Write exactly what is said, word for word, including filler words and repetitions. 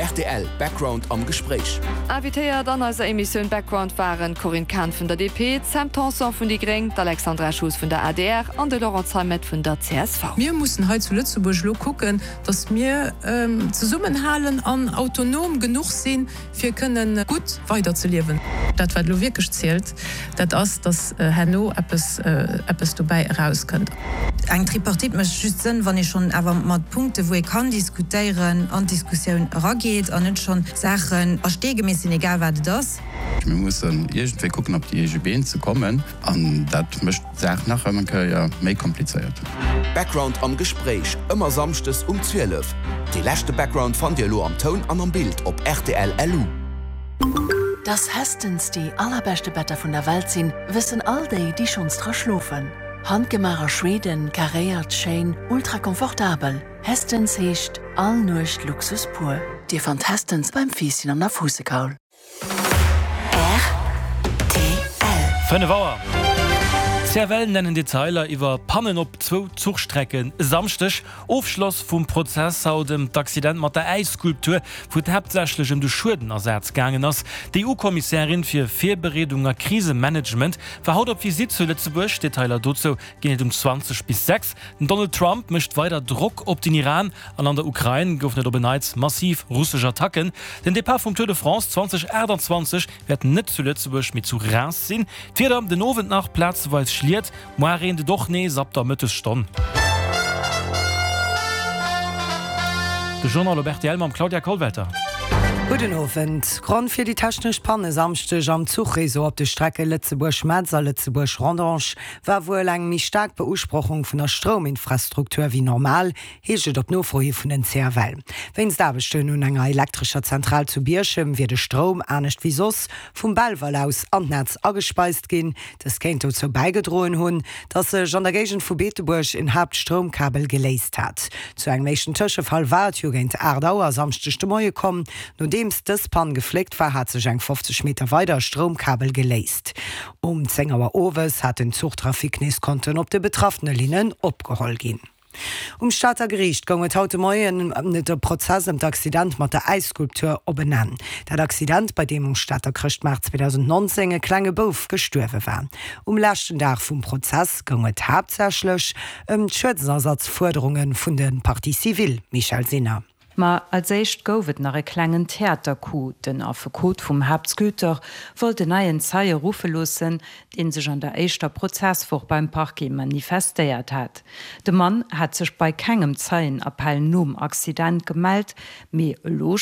rtl, Background am Gespréich. Invitéiert an eiser Emissioun Background waren d'Corinne Cahen vun der D P, d'Sam Tanson vun déi Gréng, d'Alexandra Schoos vun der A D R an de Laurent Zeimet vun der C S V. Mir mussen hei zu Lëtzebuerg elo kucken, datt mir zesummenhalen an autonom genuch sinn, fir kënnen gutt weiderzeliewen. Dat wat elo wierklech zielt, dat ass, datt herno eppes eppes dobäi erauskënnt. Eng Tripartite mécht just Sënn, wann ee schonn awer mat Punkte wou ee kann diskutéieren, an d'Diskussioun erageet an net schonn Saachen a Stee gemeesselt sinn, egal wat et ass. Mir mussen iergendwéi kucken op déi eege Been ze kommen an dat mécht d'Saach nach eng Kéier méi komplizéiert. Background am Gespréich, ëmmer samschdes um zwielef. Dee leschte Background fannt Dir elo am Toun an am Bild op R T L L U. Dass Hästens déi allerbeschte Better vun der Welt sinn, wëssen all déi, déi schonns dra schlofen. Handgemaach a Schweden, karéiert, schéin, ultra komfortabel. Hästens heescht all Nuecht Luxus pur. Dir fannt Hästens beim Fiisschen an der Fuussekaul. Fënnef Auer. C F L nennen Detailer iwwer Pannen op zwou Zuchstrecken e Samschdeg. Ofschloss vum Prozess haut ëm d'Accident mat der Äisskulptur, wou et haaptsächlech ëm de Schuedenersaz gaangen ass. D'E U-Kommissärin fir Virbereedung a Krisemanagement war haut op Visitt zu Lëtzebuerg. Detailer dozou ginn et um zwanzeg bis sechs. Den Donald Trump mécht weider Drock op den Iran an an der Ukrain goufen et op en Neits massiv russesch Attacken. Den Depart vum Tour de France zweitausenachtundzwanzeg wäert net zu Lëtzebuerg, mee zu Reims sinn. D'Wieder, den Owend nach plazeweis Schliet, muer reent et och nees ab der Mëttesstonn. De Journal op R T L mam Claudia Kollwelter. Gudden Owend. Grond fir déi technesch Pann e Samschdeg am Zuchreseau op de Strecke Lëtzebuerg-Metz a Lëtzebuerg-Rodange war wuel eng méi staark Beusprochung vun der Strouminfrastruktur wéi normal, heescht et op Nofro hi vun den C F L. Wéinst Aarbechten un enger elektrescher Zentral zu Bierchem wier de Stroum, anescht wéi soss, vum Belval aus an d'Netz agespeist ginn. Dëst kéint dozou bäigedroen hunn, datt sech an der Géigend vu Beetebuerg en Haaptstroumkabel geléist hat. Zu engem éischten Tëschefall war et jo géint aacht Auer e Samschdeg de Moie komm. Nodeems dës Pann gefléckt war, hat sech eng fofzeg Meter weider e Stroumkabel geléist. Um zéng Auer owes hat den Zuchtrafic nees konnten op de betraffene Linnen opgeholl ginn. Um Stater Geriicht goung et haut de Moien de Prozess ëm d'Accident mat der Äisskulptur op en Enn. Dat Accident, bei deem um Stater Chrëschtmaart zweedausendnonzéng e klenge Bouf gestuerwe war. Um leschten Dag vum Prozess goung et haaptsächlech ëm d'Schuedenersatzfuerderunge vun de Parties civiles, Michèle Sinner. Ma als éischt gouf et nach e klengen Theatercoup. Den Affekot vum Haaptsculpteur wollt en neien Zeie ruffe loossen, dee sech an der éischter Prozesswoch beim Parquet manifestéiert hat. De Mann hat sech bei kengem Zeienappell nom Accident gemellt, mee elo